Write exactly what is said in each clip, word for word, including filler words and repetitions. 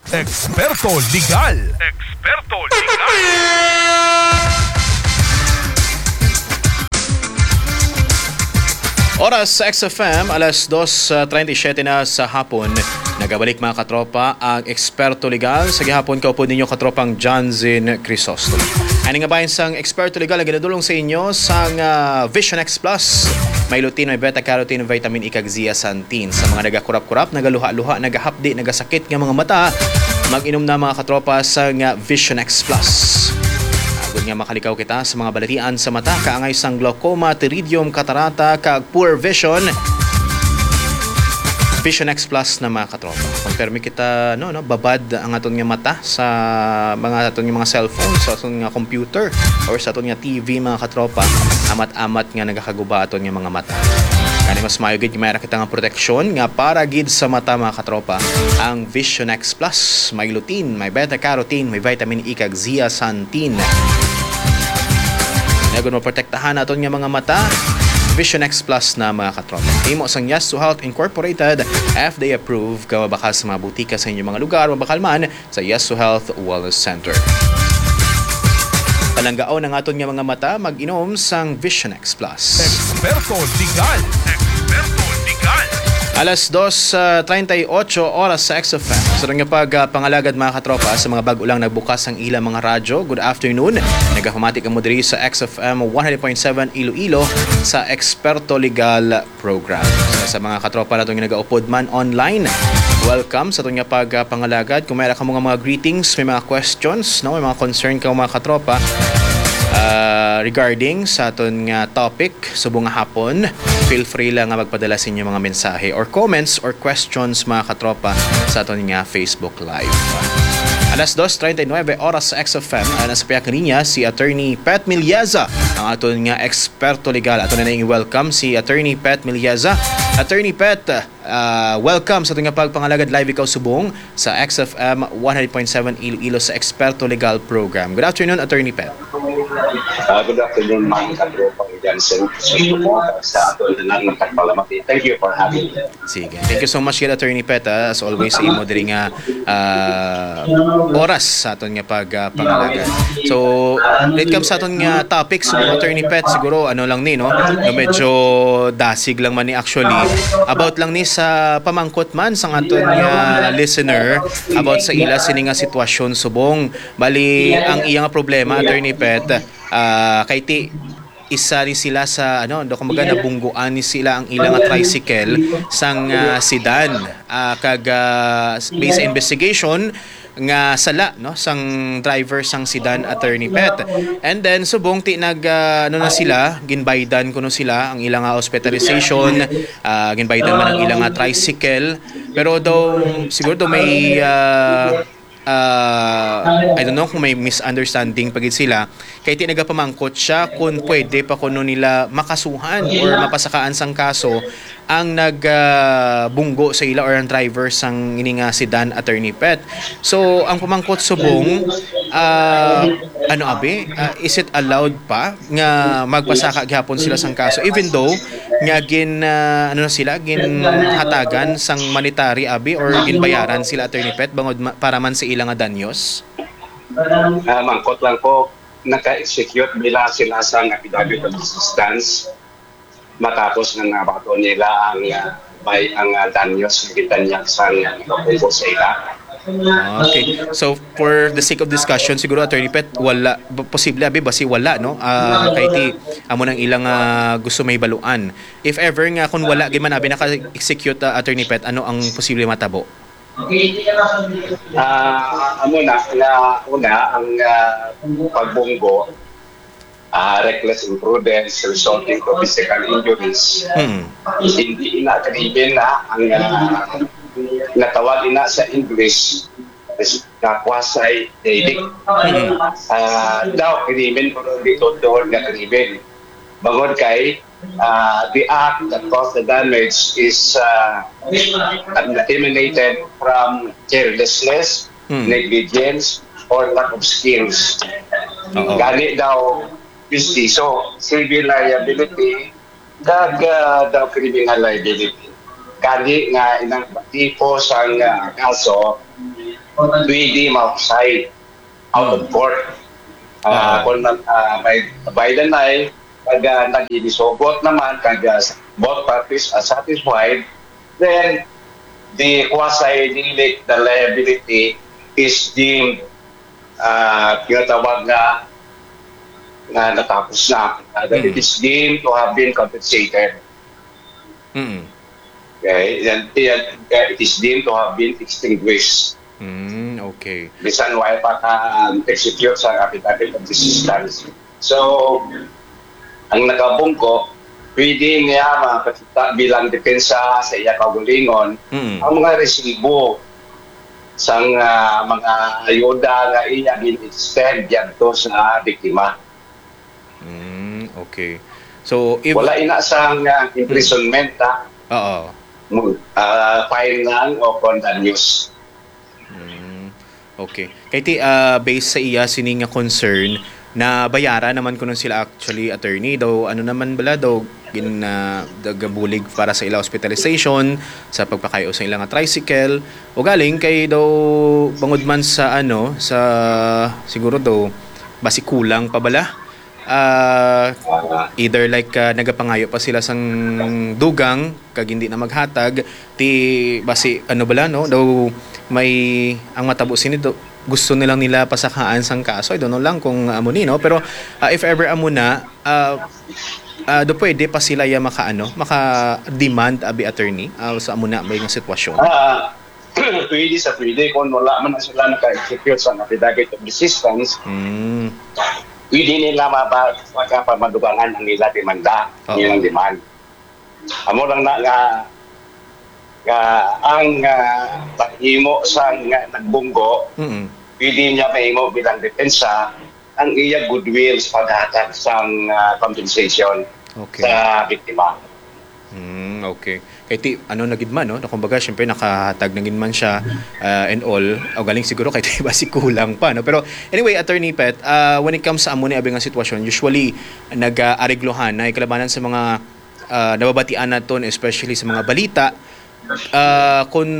Eksperto Legal. Eksperto Legal. Oras sa X F M, alas dos treinta y siete na sa hapon. Nagabalik, mga katropa, ang Eksperto Legal. Sa gihapon, kaupod ninyo, katropang Johnson Crisostomo. Ani nga bahin sang Eksperto Legal ang ginadulong sa inyo sang, ah, Vision X Plus. May lutein, may beta-carotene, vitamin E, kag zeaxanthin. Sa mga nagakurap-kurap, nagaluha-luha, nagahapdi, nagasakit nga mga mata, mag-inom na, mga katropa, sang Vision X Plus. Agod nga makalikaw kita sa mga balatian sa mata, kaangay sang glaucoma, pterygium, katarata, kag poor vision, Vision X Plus na, mga katropa. Kung permi kita, no, no, babad ang aton nga mata sa mga aton nga mga cellphone, sa aton nga computer, or sa aton nga T V, mga katropa, amat-amat nga nagakaguba aton nga mga mata. Gani, mas maayo gid may ara kita nga proteksyon nga para gid sa mata, mga katropa, ang Vision X Plus. May lutein, may beta-carotene, may vitamin E, kag zeaxanthin. Agod maprotektahan naton nga mga mata, Vision X Plus na, mga katropa. Himo sang Yes to Health Incorporated, F D A approved, kag mabakal sa mga butika sa inyong mga lugar, mabakal man sa Yes to Health Wellness Center. Palanggaon ang aton nga mga mata, mag-inom sang Vision X Plus. Eksperto Legal. Eksperto Legal. Alas dos treinta y ocho oras sa X F M. Sa nga pag, ah, pangalagad, mga katropa, sa mga bag-o lang nagbukas ang ilang mga radyo, good afternoon. Nagapamati kamo diri sa X F M one hundred point seven Iloilo sa Eksperto Legal Program. Sa, sa mga katropa nato nga nagaupod man online, welcome sa aton nga pag, ah, pangalagad. Kung may ara kamo nga mga greetings, may mga questions, no, may mga concern ka, mga katropa, ah, regarding sa aton nga topic subong nga hapon, feel free lang nga magpadala sa inyong mga mensahe or comments or questions, mga katropa, sa aton nga Facebook Live. Alas dos treinta y nueve oras sa X F M, ang nasa pihak niya si Attorney Pet Milieza, ang aton nga eksperto legal. Ato na ning welcome si Attorney Pet Milieza. Attorney Pet, ah, welcome sa aton nga pagpangalagad. Live ikaw subong sa X F M one hundred point seven Iloilo sa Eksperto Legal Program. Good afternoon, Attorney Pet. Ah, good afternoon, mga katropa, Jansen. Sa suporta sa aton nga nagpalamati. Thank you for having me. Sige. Thank you so much, gid, Attorney Pet, ah. As always, sa imo diri nga, ah, oras sa aton nga pag, ah, pangalaga. So, when it comes sa aton nga topic, so, Attorney Pet, siguro, ano lang ni, no? No, medyo dasig lang man ni actually. About lang ni sa pamangkot man sa aton nga listener about sa ila sini nga sitwasyon subong. Bali, ang iya nga problema, Attorney Pet, ah, kay ti isa ni sila sa, ano, do, kumbaga, nabungguan ni sila ang ilang tricycle sang, ah, sedan. Ah, kag, ah, based sa investigation nga sala, no, sang driver sang sedan, Attorney Pet. And then subong ti nag, ah, ano na sila, ginbaydan kuno sila ang ilang, ah, hospitalization, ah, ginbaydan man ang ilang, ah, tricycle. Pero daw, siguro daw may, ah, ah, I don't know kung may misunderstanding pa gid sila, kay ti nagapamangkot siya kung pwede pa kuno nila makasuhan or mapasakaan sang kaso ang nag, ah, bunggo sa ila or ang driver sang ini nga sedan, Attorney Pet. So, ang pamangkot subong, ah, ano abi, ah, is it allowed pa nga magpasaka gihapon sila sang kaso, even though nga gin, ah, ano na sila, ginhatagan sang monetary abi or ginbayaran sila, Attorney Pet, bangod ma-, para man sa ila nga danyos? Ah, mangkot lang po, naka-execute bila sila sang affidavit of assistance matapos nga nabaton nila ang, ah, may, ang, ah, danyos nga gitanyag sang, ah, nagapungko sa ila. Ah, okay. So, for the sake of discussion, siguro, Attorney Pet, wala, b-, posible, abi, basi wala, no? Ah, kay ti, amo nang ilang, ah, gusto mahibaluan. If ever nga, kung wala, gid man, abi, naka-execute, ah, Attorney Pet, ano ang posible matabo? Ah, amo na, nga una, ang, ah, pagbunggo, ah, reckless imprudence resulting to physical injuries. Hmm. Hindi ina krimen na ang, ah, natawag ina sa English is na quasi-delict. Hmm. Ah, daw krimen, pero dito doon nga krimen. Bangod kay, ah, the act that caused the damage is, ah, emanated from carelessness, Hmm. negligence, or lack of skills. Oo. Gani daw, justiso, civil liability, kag, ah, daw criminal liability. Gani nga inang tipo sang, ah, kaso, pwede ma-offside out of court. Ah, kung nag-, ah, may bayad na, eh, pag, ah, nag-inisugot naman, kag, ah, both parties are satisfied, then the quasi-liability is deemed, ah, tinatawag nga, nga natapos na. Ah, that it is deemed to have been compensated. Mm. Okay? Yan, yan, uh, it is deemed to have been extinguished. Mm, okay. Bisan wala pa ka-execute sa affidavit of desistance. So, ang nakabungko, pwede niya makakita bilang depensa sa iya kaugalingon Mm. ang mga resibo sang, ah, mga ayuda nga iya gin-extend yadto sa biktima. Mm, okay. So, if... Wala ina sang, ah, imprisonment, ha? Oo. Mo-, ah, fine lang o kon danyos. Mm, okay. Kay ti, ah, based sa iya sini nga concern, nabayaran naman kuno sila actually, attorney. Daw, ano naman bala, daw, gin, ah, daw gabulig para sa ila hospitalization, sa pagpakayo sa ila nga tricycle. O galing kay daw, bangod man sa, ano, sa, siguro daw, basi kulang pa bala. Ah, either like, ah, nagapangayo pa sila sang dugang kag hindi na maghatag, ti basi, ano bala, no, daw may, ang matabo sini daw, gusto nilang nila pasakaan sang kaso. I don't know lang kung amo ni, no, pero, ah, if ever amo na, ah, ah, do pwede pa sila ya maka, ano, maka-demand, abi, attorney, ah, sa amo na may nga sitwasyon. Ah, pwede sa pwede kung wala man na sila naka-execute sa affidavit of desistance, Mm. pwede nila maba-, magkapamadugangan ang nila demanda, Oo. nilang demand. Amo lang na nga, nga ang, ah, paghimo sa nga nagbunggo, Mm. pwede niya mahimo bilang depensa ang iya goodwill sa paghatag sang, ah, compensation Okay. sa biktima. Mm, okay. Kay ti, ano na gid man, no? Na kumbaga, syempre, nakahatag na gid man siya, ah, and all. O galing siguro kay ti basi kulang pa, no? Pero anyway, Attorney Pet, ah, when it comes sa amo ni abi nga sitwasyon, usually nag-aariglohan na kalabanan sa mga, ah, nababatian naton, especially sa mga balita, ah, kung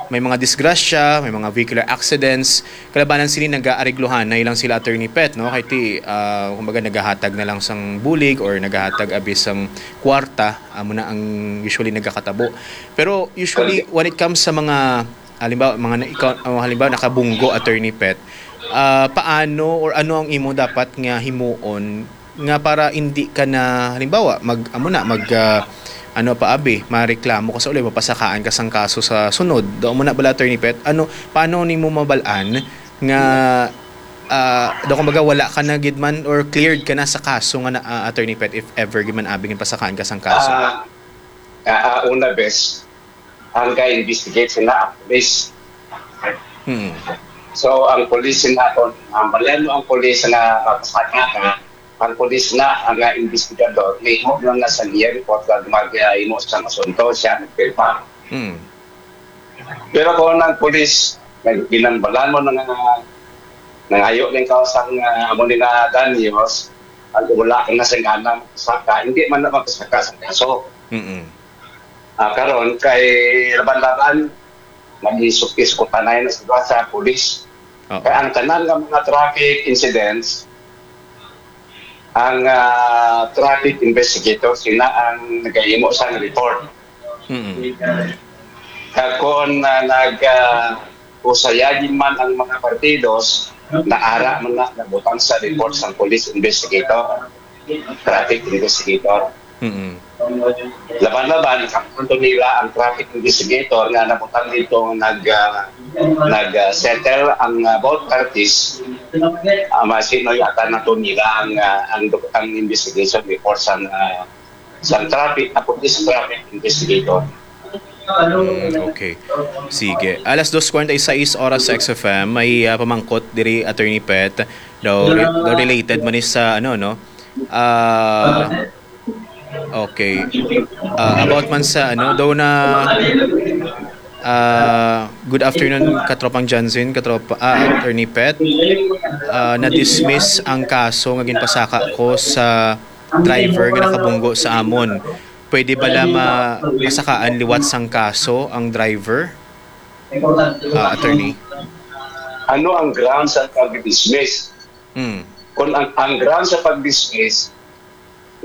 may mga disgrasya, may mga vehicular accidents, kalabanan sini nag-aariglohan na ilang sila, Attorney Pet, no? Kay ti, ah, kumbaga, nagahatag na lang sang bulig or nagahatag abi sang kwarta, amo na ang usually nagakatabo. Pero usually, when it comes sa mga, halimbawa, mga na-, ikaw, oh, halimbawa, nakabunggo, Attorney Pet, ah, paano or ano ang imo dapat nga himuon nga para hindi ka na, halimbawa, mag, amo na, mag, ah, ano pa, abi, mareklamo ka sa uli, mapasakaan ka sang kaso sa sunod? Do mo na bala, Attorney Pet, ano, paano nimo mabal-an nga, ah, do kumbaga, wala ka na gid man or cleared ka na sa kaso nga na, ah, Attorney Pet, if ever gid man abi nga pasakaan ka sang kaso? Ah, ah, ah, una, bes, ang ka-investigate sila ang police. Hmm. So, ang police sila, kung ang balian mo ang police nga mapasaka ka, ang police na ang, ah, investigador, may mo lang na sa iya report kag mag-, ah, imo sa asunto, siya nagpirma. Hmm. Pero kung ang police, nag-, ginambalan mo na nga, nangayo ng kausang, ah, amo ni nga danyos, ang wala ka na sa gana, saka, hindi man na magkasaka sa kaso. Mm-mm. Ah, karon kay laban-laban, mag-isuk-isukutanay na sila sa pulis. Oo. Kaya ang tanan nga mga traffic incidents, ang, ah, traffic investigator sila ang nagahimo sa report. Mm-mm. Kag kung, ah, nag, ah, usayagin man ang mga partidos, naara man na nabutang sa report sa police investigator, traffic investigator. Mm-mm. Laban-laban, kamanto nila ang traffic investigator nga nabutang dito nag, ah, nag, ah, settle ang, ah, both parties. Ah, masino yata na to nila ang, ah, ang, ang investigation report sa, ah, sa traffic, ako is traffic investigator. Mm, okay. Sige. Alas dos kwarenta y seis oras sa X F M, may, ah, pamangkot diri, Attorney Pet. Daw, re- daw related man ni sa, ano, no? Ah, okay. Ah, about man sa, ano, daw na, ah, good afternoon, Katropang Jansen, Katropa, ah, Attorney Pet. Ah, na-dismiss ang kaso nga ginpasaka ko sa driver nga nakabunggo sa amon. Pwede bala ma-, masakaan liwat sang kaso ang driver? Ah, attorney. Ano ang grounds sa pag-dismiss? Mm. Kung ang, ang grounds sa pag-dismiss,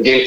the